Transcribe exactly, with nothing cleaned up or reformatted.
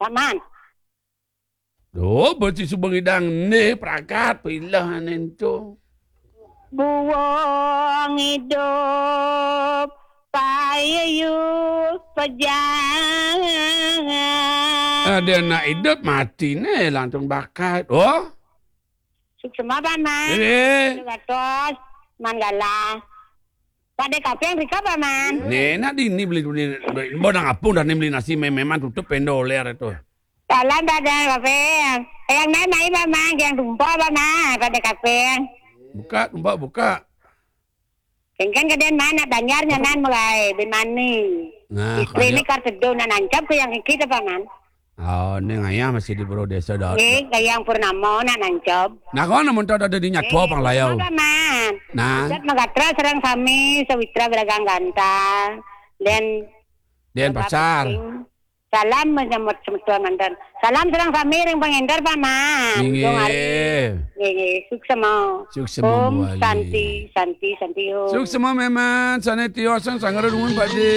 Paman. Duh, beci suba ngidang né pragat pilah ané ento. Buang idup payu pejangan. Ada nak idup mati né langsung bakat. Oh? Suksema, Paman. Eh. Sugatos, Man Galah. Pada kaping rika, Paman. Né, nak dini beli, beli, beli, mbok nang apung dah né beli nasi mé-, méman tutup péndo olér itu. Salam pada kaping. Yang naik, naik, Paman, yang tumpah, Paman, pada kaping. Buka, tumpah, buka. Kéngkén kadén, Man, nak Banjar nyanan mulai, bin mani. Nah, istri ini kar teduh nak nancap ke yang iki, Paman. Oh, né ngayah masih di Pura Désa, Dot. Nggih, Gayang Purnama nak nancap. Nah, kau namun tak ada di nyatwa pang layau. Paman. Nah. Ijat magatra sareng sami, sawitra belagang ganta. Dan Denpasar. Salam menyambut semeton manten. Salam sareng sami ring pangénter, Paman. Inggih. Dong hari. Nggih, nggih. Suksema. Suksema, Om Bu Wali. Santi, Santi, Santi, Om. Suksema, Méman. Sané tiosan sanggra dumun, Pakdé.